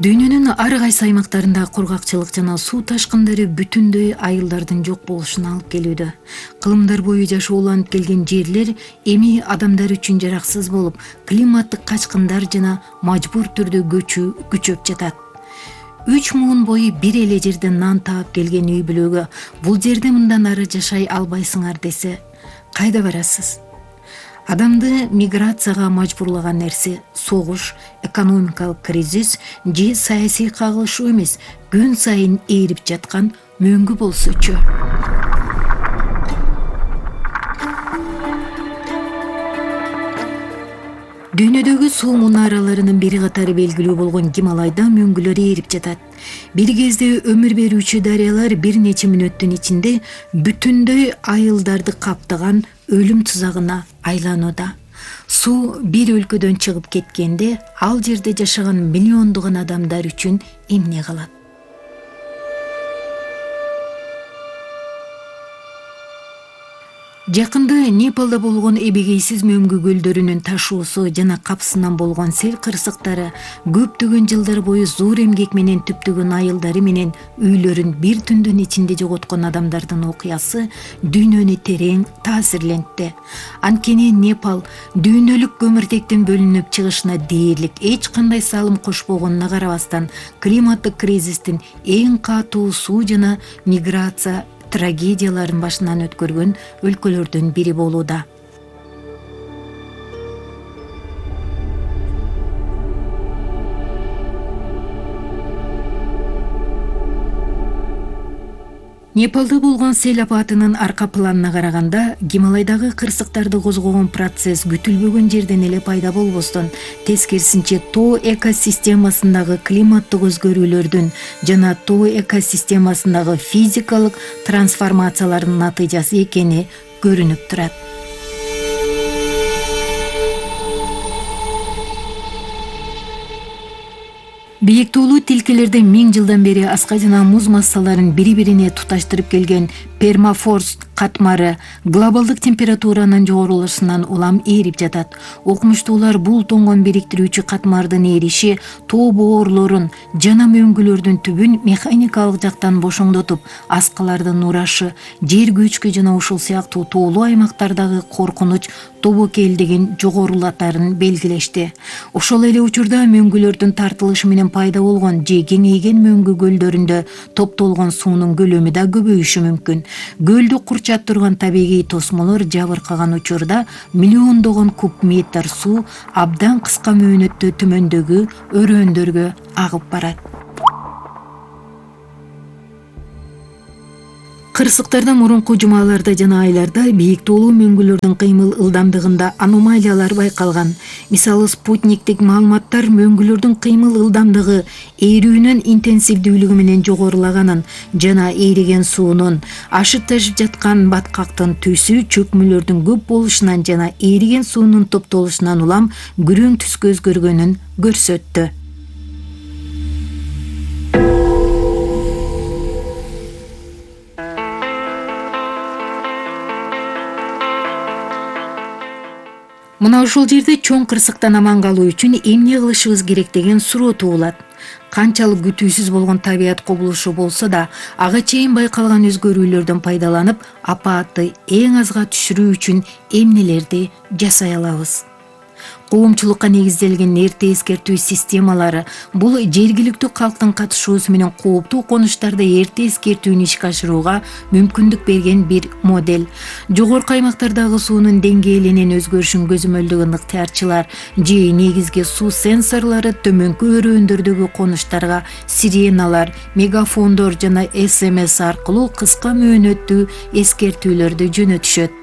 Дүйнөнүн ар кайсы аймактарында кургакчылык жана суу ташкындары бүтүндөй айылдардын жок болушуна алып келүүдө. Кылымдар бою жашооланып келген жерлер эми адамдар үчүн жараксыз болуп, климаттык качкындар жана мажбур түрдө көчүү күчөп жатат. 3 муун бою бир эле жерде нан таап келген үй бүлөгө бул жерде мындан ары жашай албайсыңар десе, кайда барасыз? Адамды миграцияга мажбурлаган нерсе согуш, экономикалык кризис же саясий кагылышуу эмес, күн сайын ээрип жаткан мөңгү болсочу. Дүйнөдөгү суу мунараларынын бири катары белгилүү болгон Гималайда мөңгүлөр ээрип жатат. Бир кезде өмүр берүүчү дарыялар бир нече мүнөттүн ичинде бүтүндөй айылдарды каптаган өлүм тузагына айланууда. Суу бир өлкөдөн чыгып кеткенде, ал жерде жашаган миллиондогон адамдар үчүн эмне калат? Жакында Непалда болгон эбегейсиз мөңгү көлдөрүнүн ташуусу жана капсынан болгон сел кырсыктары көптөгөн жылдар бою зор эмгек менен түптөгөн айылдары менен үйлөрүн бир түндүн ичинде жоготкон адамдардын окуясы дүйнөнү терең таасирлентти. Анткени Непал дүйнөлүк көмүртектин бөлүнүп чыгышына дээрлик эч кандай салым кошпогонуна карабастан климаттык кризистин эң катуу суу жана миграция трагедияларын башынан өткөргөн өлкөлөрдүн бири болууда. Непалда болгон сел апатынын арка планына караганда, Гималайдагы кырсыктарды козгогон процесс күтүлбөгөн жерден эле пайда болбостон, тескерисинче тоо экосистемасындагы климаттык өзгөрүүлөрдүн жана тоо экосистемасындагы физикалык трансформациялардын натыйжасы экени көрүнүп турат. Бийик тоолуу тилкелерде 1000 жылдан бери аска жана муз массаларын бири-бирине туташтырып келген пермафрост катмары глобалдык температуранын жогорулушунан улам ээрип жатат. Окумуштуулар бул тоңгон бириктирүүчү катмардын эриши тоо боорлорун жана мөңгүлөрдүн түбүн механикалык жактан бошоңдотуп, аскалардын урашы, жер көчкү жана ушул сыяктуу тоолуу аймактардагы коркунуч тобокелдигин жогорулатарын белгилешти. Ошол эле учурда мөңгүлөрдүн тартылышы менен пайда болгон же кеңейген мөңгү көлдөрүндө топтолгон суунун көлөмү да көбөйүшү мүмкүн. Көлдү курчап турган табигый тосмолор жабыркаган учурда миллиондогон куб метр суу абдан кыска мөөнөттө төмөндөгү өрөөндөргө агып барат. Кырсыктарда мурунку жумаларда жана айларда бийик тоолуу мөңгүлөрдүн кыймыл ылдамдыгында аномалиялар байкалган. Мисалы, спутниктик маалыматтар мөңгүлөрдүн кыймыл ылдамдыгы ээрүүнүн интенсивдүүлүгү менен жогорулаганын жана ээриген суунун ашып ташып жаткан баткактын түсү чөкмөлөрдүн көп болушунан жана ээриген суунун топтолушунан улам күрөң түскө өзгөргөнүн көрсөттү. Мына ушул жерде чоң кырсыктан аман калуу үчүн эмне кылышыбыз керек деген суроо туулат. Канчалык күтүүсүз болгон табият кубулушу болсо да, ага чейин байкалган өзгөрүүлөрдөн пайдаланып, апаатты эң азга түшүрүү үчүн эмнелерди жасай алабыз? Коомчулукка негизделген эрте эскертүү системалары бул жергиликтүү калктын катышуусу менен кооптуу конуштарда эрте эскертүүнү ишке ашырууга мүмкүндүк берген бир модель. Жогорку аймактардагы суунун деңгээлинин өзгөрүшүн көзөмөлдөгөн ыктыярчылар же негизги суу сенсорлору төмөнкү өрөөндөрдөгү конуштарга сиреналар, мегафондор жана СМС аркылуу кыска мөөнөттүү эскертүүлөрдү жөнөтүшөт.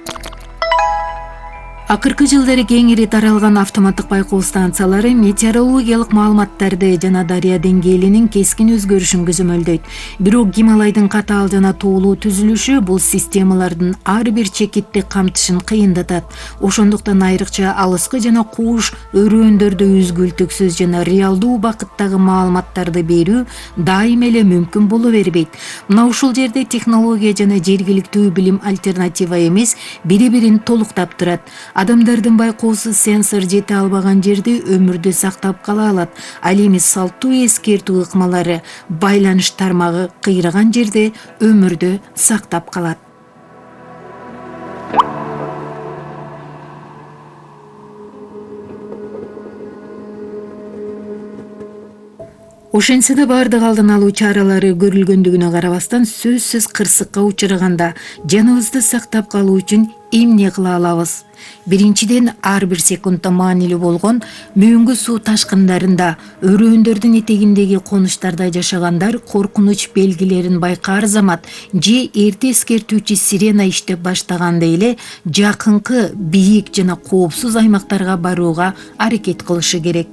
Акыркы жылдары кеңири таралган автоматтык байкоо станциялары метеорологиялык маалыматтарды жана дарыя деңгээлинин кескин өзгөрүшүн көзөмөлдөйт. Бирок Гималайдын катаал жана тоолуу түзүлүшү бул системалардын ар бир чекитти камтышын кыйындатат. Ошондуктан айрыкча алыскы жана кууш өрөөндөрдө үзгүлтүксүз жана реалдуу убакыттагы маалыматтарды берүү дайым эле мүмкүн боло бербейт. Мына ушул жерде технология жана жергиликтүү билим альтернатива эмес, бири-бирин толуктап турат. Адамдардын байкоосуз сенсор жете албаган жерде өмүрдү сактап кала алат. Ал эми салттуу эскертүү ыкмалары байланыш тармагы кыйраган жерде өмүрдү сактап калат. Ошентсе да баардык алдын алуу чаралары көрүлгөндүгүнө карабастан сөзсүз кырсыкка учураганда жаныбызды сактап калуу үчүн эмне кыла алабыз? Биринчиден, ар бир секундта маанилүү болгон мөңгү суу ташкындарында, өрөөндөрдүн этегиндеги конуштарда жашагандар коркунуч белгилерин байкаар замат же эрте эскертүүчү сирена иштеп баштаганда эле жакынкы бийик жана коопсуз аймактарга барууга аракет кылышы керек.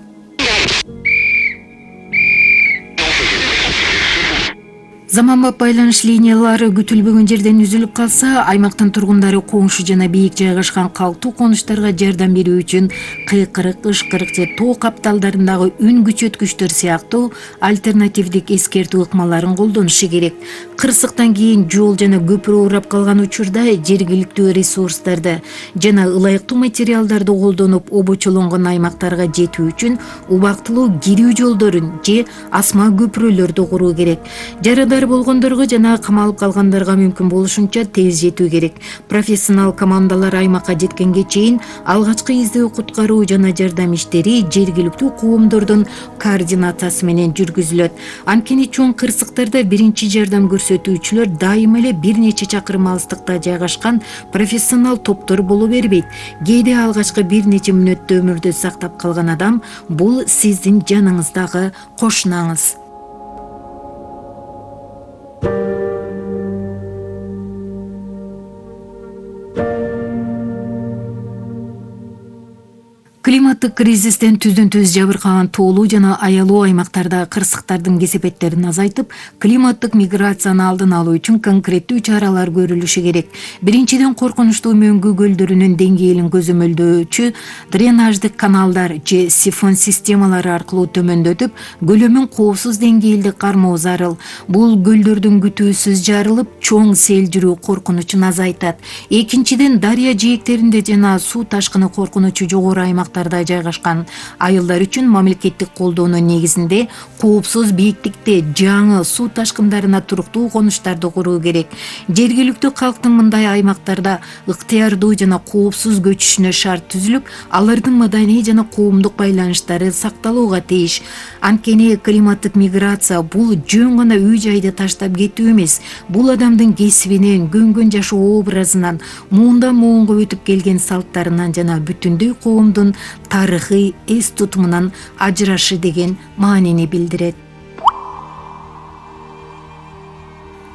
Заманбап байланыш линиялары күтүлбөгөн жерден үзүлүп калса, аймактын тургундары коңшу жана бийик жайгашкан калктуу конуштарга жардам берүү үчүн кыйкырык, ышкырык же тоо капталдарындагы үн күчөткүчтөр сыяктуу альтернативдик эскертүү ыкмаларын колдонушу керек. Кырсыктан кийин жол жана көпүрө урап калган учурда жергиликтүү ресурстарды жана ылайыктуу материалдарды колдонуп обочолонгон аймактарга жетүү үчүн убактылуу кирүү жолдорун же асма көпүрөлөрдү куруу керек. Жарадар болгондорго жана камалып калгандарга мүмкүн болушунча тез жетүү керек. Профессионал командалар аймакка жеткенге чейин алгачкы издөө, куткаруу жана жардам иштери жергиликтүү коомдордун координациясы менен жүргүзүлөт. Анткени чоң кырсыктарда биринчи жардам көрсөтүүчүлөр дайыма эле бир нече чакырым алыстыкта жайгашкан профессионал топтор боло бербейт. Кээде алгачкы бир нече мүнөттө өмүрдү сактап калган адам бул сиздин жаныңыздагы кошунаңыз. Климаттык кризистен түздөн-түз жабыркаган тоолуу жана аялуу аймактарда кырсыктардын кесепеттерин азайтып, климаттык миграцияны алдын алуу үчүн конкреттүү чаралар көрүлүшү керек. Биринчиден, коркунучтуу мөңгү көлдөрүнүн деңгээлин көзөмөлдөөчү дренаждык каналдар же сифон системалары аркылуу төмөндөтүп, көлөмүн коопсуз деңгээлде кармоо зарыл. Бул көлдөрдүн күтүүсүз жарылып, чоң сел жүрүү коркунучун азайтат. Экинчиден, дарыя жээктеринде жана суу ташкыны коркунучу жогору аймактарда жайгашкан айылдар үчүн мамлекеттик колдоонун негизинде коопсуз бийиктикте жаңы суу ташкындарына туруктуу конуштарды куруу керек. Жергиликтүү калктын мындай аймактарда ыктыярдуу жана коопсуз көчүшүнө шарт түзүлүп, алардын маданий жана коомдук байланыштары сакталууга тийиш. Анткени климаттык миграция бул жөн гана үй-жайды таштап кетүү эмес. Бул адамдын кесибинен, көнгөн жашоо образынан, муундан муунга өтүп келген салттарынан жана бүтүндөй коомдун тарыхый эс тутумунан ажырашы деген маанини билдирет.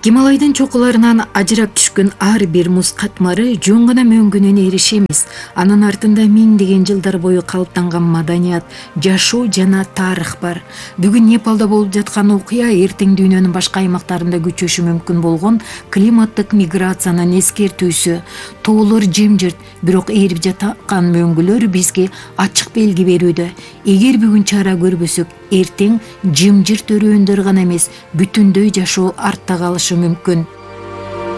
Гималайдын чокуларынан ажырап түшкөн ар бир муз катмары жөн гана мөңгүнөн эриш эмес. Анын артында миңдеген жылдар бою калыптанган маданият, жашоо жана тарых бар. Бүгүн Непалда болуп жаткан окуя эртең дүйнөнүн башка аймактарында күчөшү мүмкүн болгон климаттык миграциянын эскертүүсү. Тоолор жемжирт, бирок ээрип жаткан мөңгүлөр бизге ачык белги берүүдө. Эгер бүгүн чара көрбөсөк, эртең жымжырт өрөөндөр гана эмес, бүтүндөй жашоо артта калышы мүмкүн.